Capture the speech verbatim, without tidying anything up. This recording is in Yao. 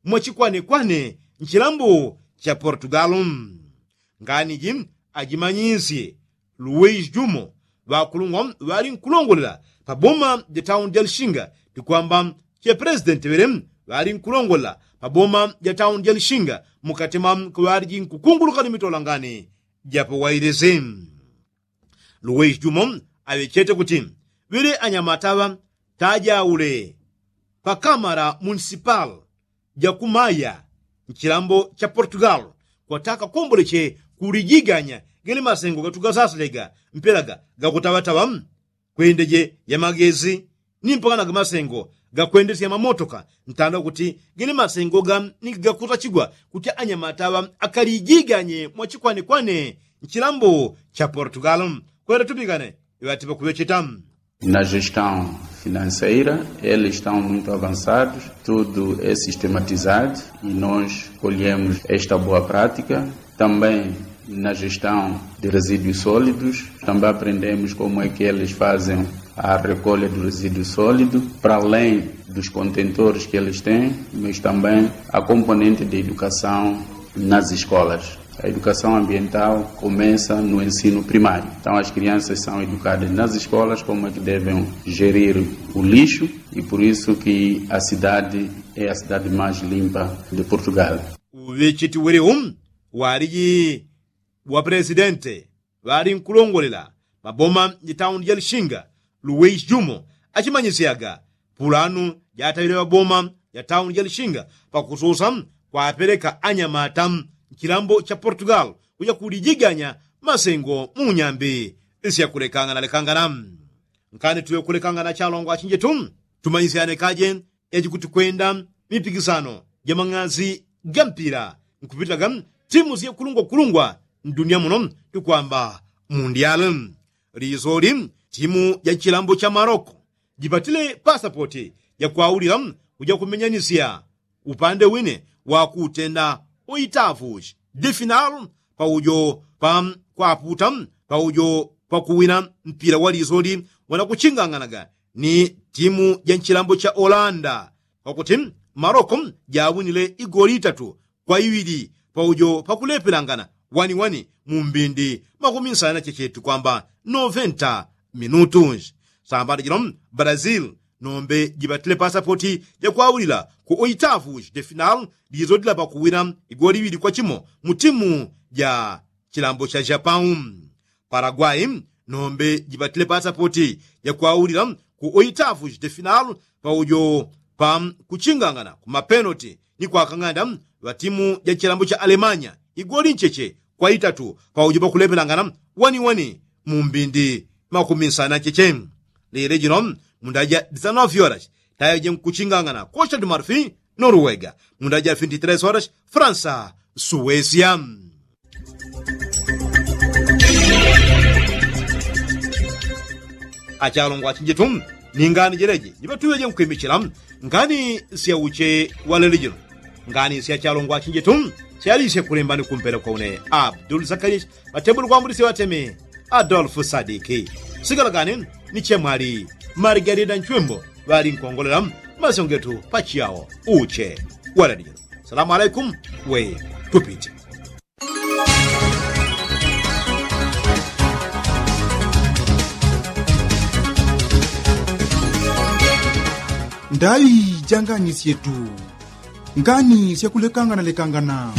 mwachikwanekwane nchilambo cha portugalu. Ngani ji ajimanyisye luweishi jumo ŵakulungwa ŵali nkulongolela pa boma ja tauni ja lishinga, tikwamba che pelesidenti ŵele ŵali nkulongolela pa boma ja tauni ja lishinga mukati mwa kuŵaliji nkukunguluka ni mitola ngani japo wailisi. Luweishi jumo aŵechete kuti ŵele anyamata ŵa tajaule pa kamara munisipali ja kumaya nchilambo cha portugalu kwataka komboleche kulijiganya gele masengo gatugasaslega mpelaga gakutaŵataŵa kwendeje ya magezi ni mpaka na gamasengo gakwendesya mamotoka ntanda kuti gele masengo ga ni gakutachigwa kuti anyamata ŵa akalijiganye mwachikwanekwane nchilambo cha portugalu. Kwele tupikane iŵatiŵa kuŵecheta. Na gestão financeira, eles estão muito avançados, tudo é sistematizado e nós colhemos esta boa prática. Também na gestão de resíduos sólidos, também aprendemos como é que eles fazem a recolha do resíduo sólido, para além dos contentores que eles têm, mas também a componente de educação nas escolas. A educação ambiental começa no ensino primário. Então, as crianças são educadas nas escolas como é que devem gerir o lixo e por isso que a cidade é a cidade mais limpa de Portugal. Uŵecheti welewo waliji wa pelesidenti ŵali nkulongolela maboma ja tauni ja lishinga luweishi jumo achimanyisyaga pulanu jataŵile ŵaboma ja tauni ja lishinga pakususa kwapeleka anyamata nchilambo cha portugal kuja kulijiganya masengo mu nyambi syakulekanganalekangana. Nkani tuŵe kulekangana chalongo achinjetu tumanyisyane kaje yachikuti kwenda mipikisano ja mang'azi ga mpila nkupitaga timu syakulungwakulungwa ndunia muno tukwamba mundial. Lisoli timu ja chilambo cha maroko jipatile pasapoti jakwaulila kuja kumenyanisya upande wine wakutenda oitavu difinal paujo pa kwaputa paujo pakuwina mpila wa lisoli wanakuchinganganaga ni timu ja nchilambo cha olanda. Kwakuti maroko jawinile igoli itatu kwa iŵili paujo pakulepelangana waniwani mu mbindi makumi nsana chechetu kwamba noventa minutu. Sambala jilo brazil nombe jipatile pasapoti jakwaulila ku oitavu de final lizodila pakuwina igoli iŵili kwa chimo mu timu ja chilambo cha japau. Paraguai nombe jipatile pasapoti jakwaulila ku oitavu de final paujo pa kuchingangana ku mapenoti ni kwakang'anda ŵa timu ja chilambo cha alemanya igoli ncheche kwa itatu paujo pakulepelangana waniwani mu mbindi makumi nsana ncheche. Lile jino munda ja disanofi horas tayo jenkuchingangana costa du marfi noruega munda ja vinti tres horas fransa suwesia. Achalongo achinjetu ni ngani jeleje jiŵatuŵeje nkwimichila ngani syauche walele jino. Ngani syachalongo achinjetu syalisye kulembani kumpela kwa une abdul zakarias ŵatebuli kwambulisye ŵateme adolfu sadiki. Sigalagani ni chemwali marigarida nchwembo ŵali nkongolela masyongetu pachiyawo uche walele jino. Salamu alaikum we tupite. Ndaŵi janganisyetu ngani syakulekanganalekangana.